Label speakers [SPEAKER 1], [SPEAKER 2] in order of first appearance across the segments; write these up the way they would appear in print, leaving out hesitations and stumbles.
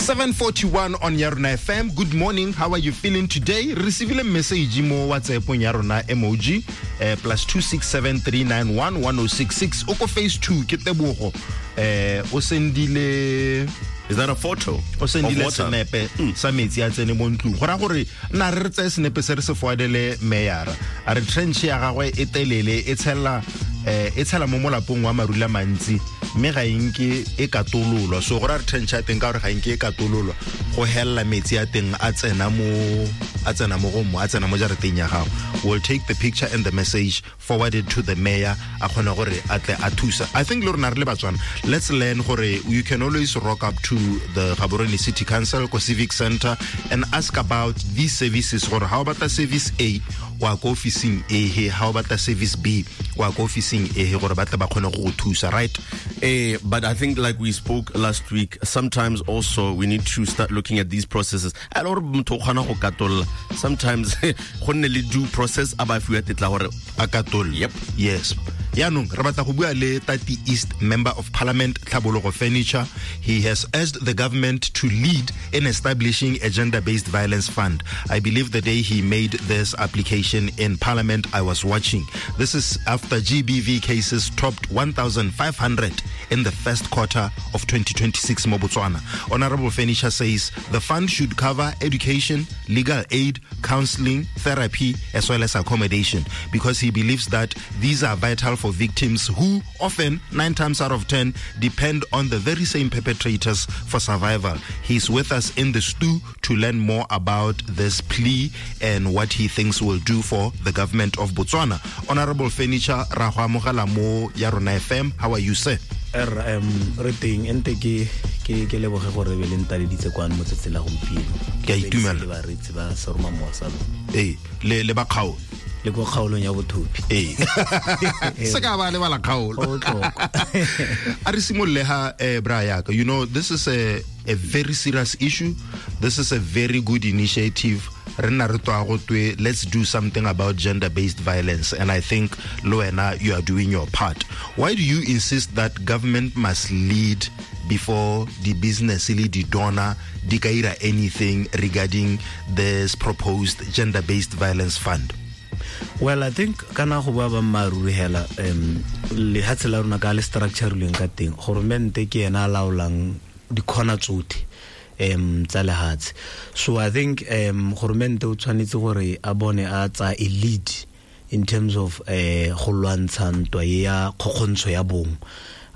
[SPEAKER 1] 7:41 on Yarona FM. Good morning. How are you feeling today? Receive a message mo WhatsApp on Yarona emoji +2673911066. Oko phase 2 ke Tebogo. O sendile.
[SPEAKER 2] Is that a photo?
[SPEAKER 1] O sendile senepe sa metsi a tsene mo ntlong. Go ra gore nna re tseye senepe se re se foadele meyara. A re trench ya gagwe e telele e tshela e tshela mo molapong wa marula mantsi mme ga enke e katololwa. So go ra re trench ya teng ka gore ga enke e katololwa go hella metsi a teng a tsena mo go mo a tsena mo jarateng ya gago. We'll take the picture and the message forwarded to the mayor a kgone gore a tle a thusa. I think le rona re le Batswana, let's learn gore you can always rock up to the Gaborone City Council ko Civic Center and ask about these services gore how about the service A wa ko officing A he, how about the service B wa ko officing A he, gore ba tle ba kgone go thusa, right?
[SPEAKER 2] But I think like we spoke last week, sometimes also we need to start looking at these processes. Sometimes go nne le due process a ba fiwa tetla gore
[SPEAKER 1] a katol.
[SPEAKER 2] Yep.
[SPEAKER 1] Yes. Yaanong re batla go bua le Tati East Member of Parliament Tlhabologo Furniture. He has urged the government to lead in establishing a gender-based violence fund. I believe the day he made this application in Parliament, I was watching. This is after GBV cases topped 1,500 in the first quarter of 2026 mo Botswana. Honorable Furniture says the fund should cover education, legal aid, counseling, therapy, as well as accommodation, because he believes that these are vital for victims who often, 9 times out of 10, depend on the very same perpetrators for survival. He's with us in the stew to learn more about this plea and what he thinks will do for the government of Botswana. Honorable Furniture, ra go amogela mo Yarona FM. How are you, sir?
[SPEAKER 3] Re teng ente ke leboge gore be le ntaleditse kwano mo tsatsing la gompieno.
[SPEAKER 1] Ke a itumela.
[SPEAKER 3] Le bareetsi ba Seroma Mowa sa lona.
[SPEAKER 1] Ee, le ba kgaolo.
[SPEAKER 3] Le ko kgaolong ya bothopi.
[SPEAKER 1] Ee. Se ka ba lebala kgaolo.
[SPEAKER 3] Go botlhokwa.
[SPEAKER 1] A re simolole ha bra yaka. You know, this is a very serious issue. This is a very good initiative. Re nna re twa go twe, let's do something about gender-based violence, and I think le wena you are doing your part. Why do you insist that government must lead before the business le di donor di ka ira anything regarding this proposed gender-based violence fund?
[SPEAKER 3] Well, I think kana go bua ba mmaruri hela lehatshe la rona ka le structure-ilweng ka teng, goromente ke ena a laolang dikhona tsotlhe tsa lehatshe. So I think goromente o tshwanetse gore a bone a tsa a lead in terms of go lwantsha ntwa e ya kgokgontsho ya bong.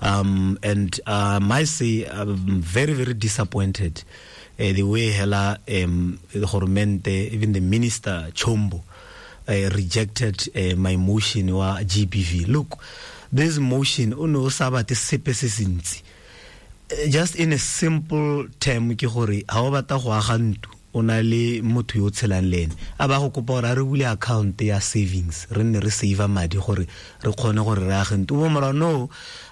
[SPEAKER 3] And I must say I'm very, very disappointed the way hela goromente, even the minister Chombo, rejected my motion wa GBV. Look, this motion o ne o sa batle sepe se se ntsi. Just in a simple term ke gore ha o batla go aga ntlo o na le motho yo o tshelang le ene, a ba go kopa gore a re bule account ya savings, re nne re save madi gore re kgone gore re age ntlo. O bo mora no,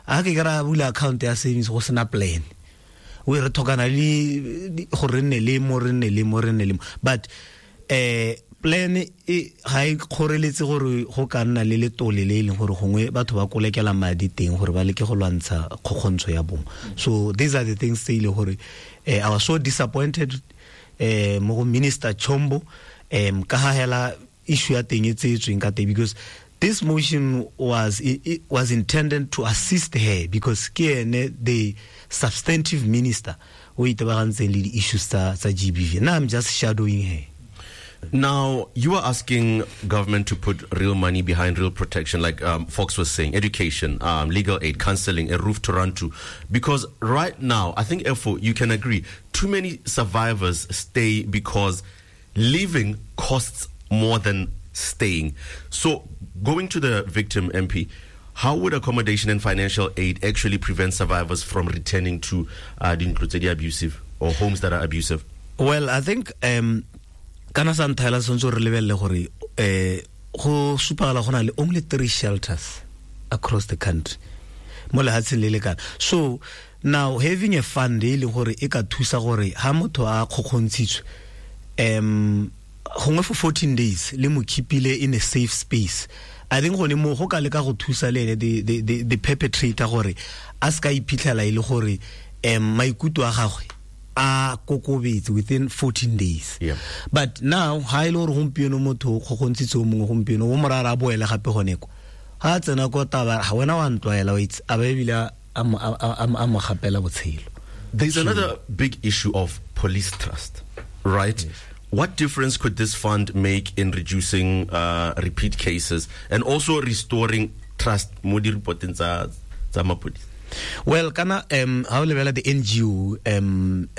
[SPEAKER 3] a ke ke ra bula account ya savings go sena plan. We re tlhokana le gore re nne le mo, re nne le mo, re nne le mo. But plan e ga e kgoreletse gore go ka nna le letole le e leng gore gongwe batho ba kolekela madi teng gore ba leke go lwantsha kgokgontsho ya bong. So these are the things tse e leng gore I was so disappointed mo go Minister Chombo ka ga hela issue ya teng e tseetsweng ka teng, because this motion was it was intended to assist her, because ke ene the substantive minister o itebagantseng le di-issues tsa GBV. Now I'm just shadowing her.
[SPEAKER 2] Now, you are asking government to put real money behind real protection, like Fox was saying, education, legal aid, counseling, a roof to run to. Because right now, I think, Efo, you can agree, too many survivors stay because leaving costs more than staying. So, going to the victim, MP, how would accommodation and financial aid actually prevent survivors from returning to the abusive or homes that are abusive?
[SPEAKER 3] Well, I think kana sa nthaela tshwanetse re lebelele gore go supagala go na le only 3 shelters across the country mo lehatsheng le le kana. So now having a fund e leng gore e ka thusa gore ha motho a kgokgontshitswe gongwe for 14 days le mo keepile in a safe space, I think gone mo go ka leka go thusa le ene the perpetrator gore a se ka iphitlhela e le gore maikutlo a gagwe a kokobetse within 14 days. But now ha ile gore gompieno motho o kgokgontshitse o mongwe gompieno o morara a boele gape gone ko ga a tsena ko taba ga wena wa ntlwaela o itse a ba ebile a mo gapela botshelo.
[SPEAKER 2] There's another big issue of police trust, right?
[SPEAKER 3] Yes.
[SPEAKER 2] What difference could this fund make in reducing repeat cases and also restoring trust mo di reporteng tsa mapodisi?
[SPEAKER 3] Well, kana ha o lebela the NGO and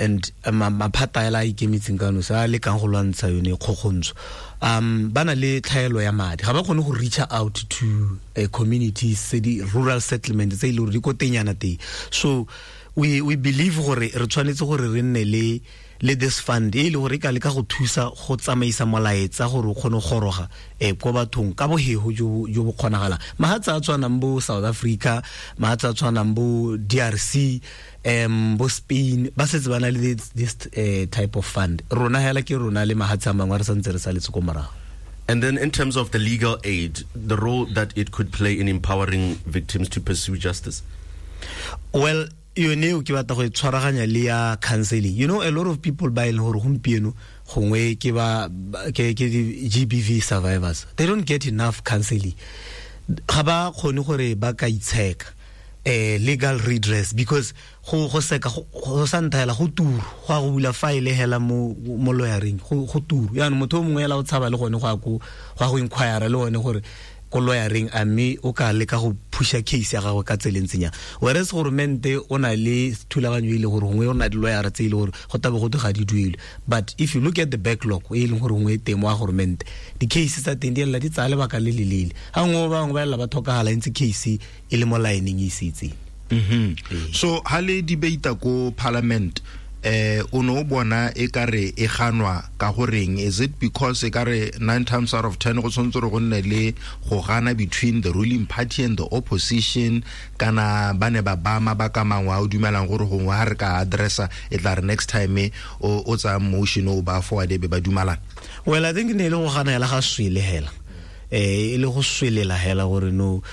[SPEAKER 3] maphata a ikemetseng ka nosi a lekang go lwantsha yone kgokgontsho, ba na le tlhaelo ya madi, ga ba kgone go reach out to communities tse di rural settlement tse e le gore di ko tenyana teng. So we believe gore re tshwanetse gore re nne le this fund e le gore e ka leka go thusa go tsamaisa molaetsa gore o kgone go goroga ko bathong ka bohego jo bo kgonagalang. Mahatshe a tshwanang bo South Africa, mahatshe a tshwanang bo DRC, bo Spain, ba setse ba na le this type of fund. Rona hela ke rona le mahatshe a mangwe re santse re saletse ko morago.
[SPEAKER 2] And then in terms of the legal aid, the role that it could play in empowering victims to pursue justice?
[SPEAKER 3] Well, yone eo ke batla go e tshwaraganya le ya counseling. You know, a lot of people ba e leng gore gompieno gongwe ke ba ke GBV survivors, they don't get enough counseling. Ga ba kgone gore ba ka itsheka legal redress, because go seka go sa nthaela go turu go a go bula file hela mo lawyering go turu. Yaanong motho o mongwe hela o tshaba le gone go ya go inquire le gone gore ko lawyering a mme o ka leka go pusha case ya gagwe ka tseleng tsenya. Whereas goromente o na le thulaganyo e le gore gongwe o na di lawyer tse e le gore go tabe go ga di duelwe. But if you look at the backlog e leng gore gongwe e teng wa goromente, di-case tsa teng di ella di tsaya lebaka le le leele. Ga nngwe ba bangwe ba ella ba tlhokagala ntse case e le mo lineng e setseng.
[SPEAKER 1] So ha le debate ko parliament, o no bona e kare e ganwa ka goreng? Is it because e kare 9 times out of 10 go tshwanetse go nne le go gana between the ruling party and the opposition, kana ba ne ba ba mabaka mangwe a o dumelang gore gongwe ha re ka addressa e tla re next time o tsaya motion o ba forward be ba dumalana?
[SPEAKER 3] Well, I think ne le go gana hela ga swele hela, e le go swelela hela gore no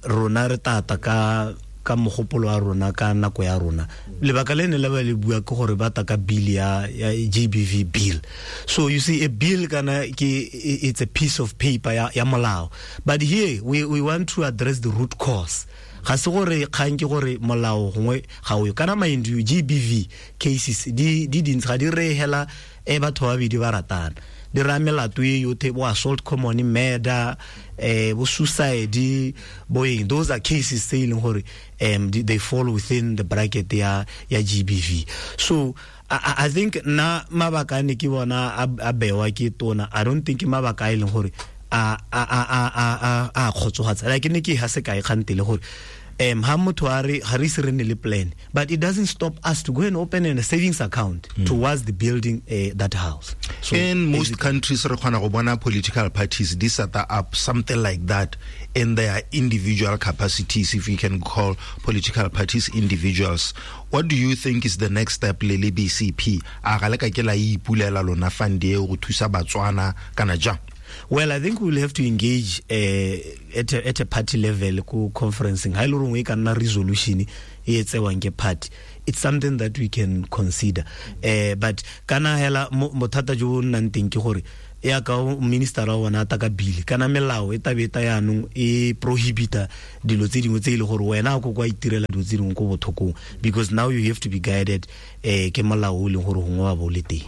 [SPEAKER 3] rona re tata ka mogopolo wa rona ka nako ya rona. Lebaka le ne le ba le bua ke gore ba ta ka bill ya GBV bill. So you see, a bill kana ke it's a piece of paper ya molao, but here we want to address the root cause. Ga se gore kgang ke gore molao gongwe ga o yo. Kana mind you, GBV cases di dintsi ga di re hela e batho ba babedi ba ratana, di raya melato e yothe, bo assault, common murder, bo suicide, bo eng. Those are cases tse e leng gore they fall within the bracket ya GBV. So I think na mabaka ne ke bona a bewa ke tona, I don't think mabaka e leng gore a kgotsofatsa. Like ne ke ha se kae kgantele gore ha motho a re ga re ise re nne le plan, but it doesn't stop us to go and open a savings account towards the building that house.
[SPEAKER 1] So in most countries re kgona go bona political parties di set up something like that in their individual capacities, if you can call political parties individuals. What do you think is the next step le le BCP? A ga le ka ke la ipulela lona fund e go thusa Batswana kana jang?
[SPEAKER 3] Well, I think we'll have to engage at a party level ko conferencing. Ha ile rongwe ka nna resolution e tsewang ke party. It's something that we can consider. But kana hela bothata jo bo nnang teng ke gore ya ka minister wa bona ta ka bill, kana melao e tabeta yanong e prohibita dilo tse dingwe tse ile gore wena go kwa itirela dilo tse dingwe ko bothokong, because now you have to be guided ke molao o leng gore gongwe wa bo le teng.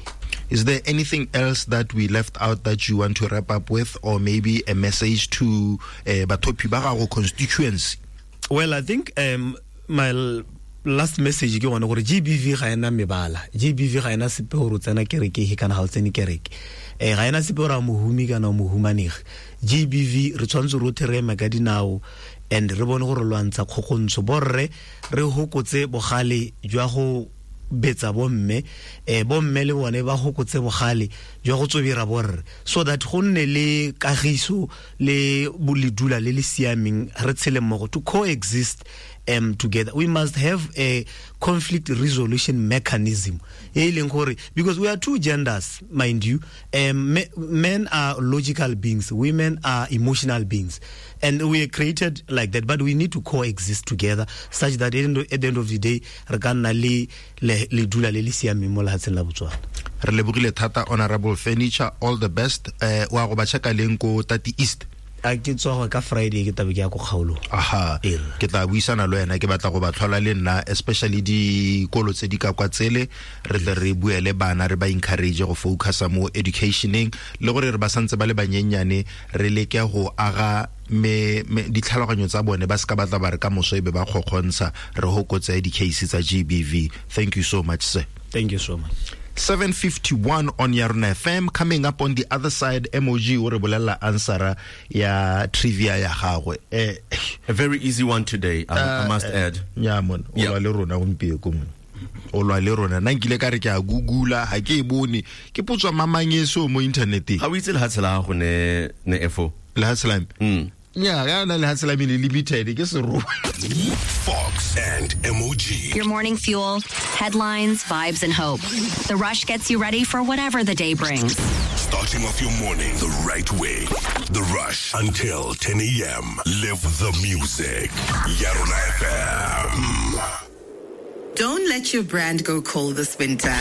[SPEAKER 1] Is there anything else that we left out that you want to wrap up with, or maybe a message to bathopi ba gago constituency?
[SPEAKER 3] Well, I think my last message ke gone gore GBV ga ena mebala, GBV ga ena sepe gore o tsena kereke kana ga o tsene kereke, ga ena sepe gore a mohumi kana o mohumanegi. GBV re tshwanetse rotlhe re eme ka dinao and re bone gore lwantsha kgokgontsho, borre re hokotse bogale jwa go betsa bomme, bomme le bone ba hokotse bogale jwa go tsobira borre, so that go nne le kagiso le boledula le le siameng, re tshele mmogo to coexist together. We must have a conflict resolution mechanism e leng gore, because we are two genders, mind you. Men are logical beings, women are emotional beings, and we are created like that, but we need to coexist together such that at the end of the day re ka nna le le dula le le siameng mo lehatsheng la Botswana.
[SPEAKER 1] Re lebogile thata, Honorable Furniture. All the best. Wa go ba checka leng ko Tati East?
[SPEAKER 3] A ke tswa ka Friday, ke tabe ke ya ko kgaolong.
[SPEAKER 1] Aha, ke tla buisana le wena, ke batla go ba tlhola le nna, especially dikolo tse di ka kwa tsele, re tle re bue le bana, re ba encourage go focusa mo educationeng, le gore re ba santse ba le banyenyane, re leke go aga me ditlhaloganyo tsa bone, ba ska batla ba re ka moso e be ba kgokgontsha, re hokotse di-case tsa GBV. Thank you so much, sir.
[SPEAKER 3] Thank you so much.
[SPEAKER 1] 7:51 on Yarona FM. Coming up on the other side, MOG o re bolella answera ya trivia ya gagwe.
[SPEAKER 2] A very easy one today, I must add.
[SPEAKER 1] Ya mon, o lwa le rona gompieko mon. O lwa le rona. Nna nkile ka re ke a googla, ha ke e bone. Ke potswa mamangeso mo interneteng.
[SPEAKER 2] Ga o itse lehatshe la gago ne FO?
[SPEAKER 1] Lehatshe la me? Yeah, ya na lehatshe la me le limited, ke seroba.
[SPEAKER 4] Fox and MOG.
[SPEAKER 5] Your morning fuel, headlines, vibes, and hope. The Rush gets you ready for whatever the day brings.
[SPEAKER 4] Starting off your morning the right way. The Rush until 10 a.m. Live the music. Yarona FM.
[SPEAKER 6] Don't let your brand go cold this winter.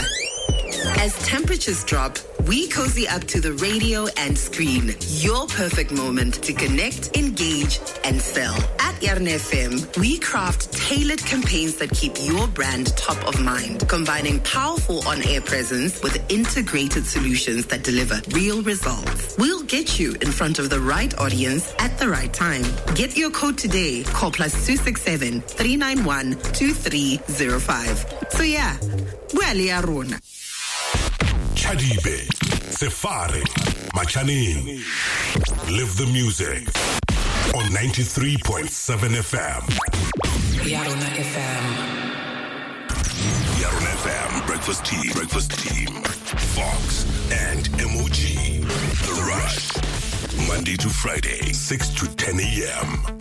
[SPEAKER 6] As temperatures drop, we cozy up to the radio and screen. Your perfect moment to connect, engage, and sell. At Yarona FM, we craft tailored campaigns that keep your brand top of mind, combining powerful on-air presence with integrated solutions that deliver real results. We'll get you in front of the right audience at the right time. Get your quote today. Call +267 391 2305. So yeah, we're Yarona.
[SPEAKER 4] Chadibe, Sefare, Machaneng. Live the music on 93.7 FM.
[SPEAKER 7] Yarona FM.
[SPEAKER 4] Yarona FM, Breakfast Team, Breakfast Team, Fox and MOG. The Rush, Monday to Friday, 6 to 10 a.m.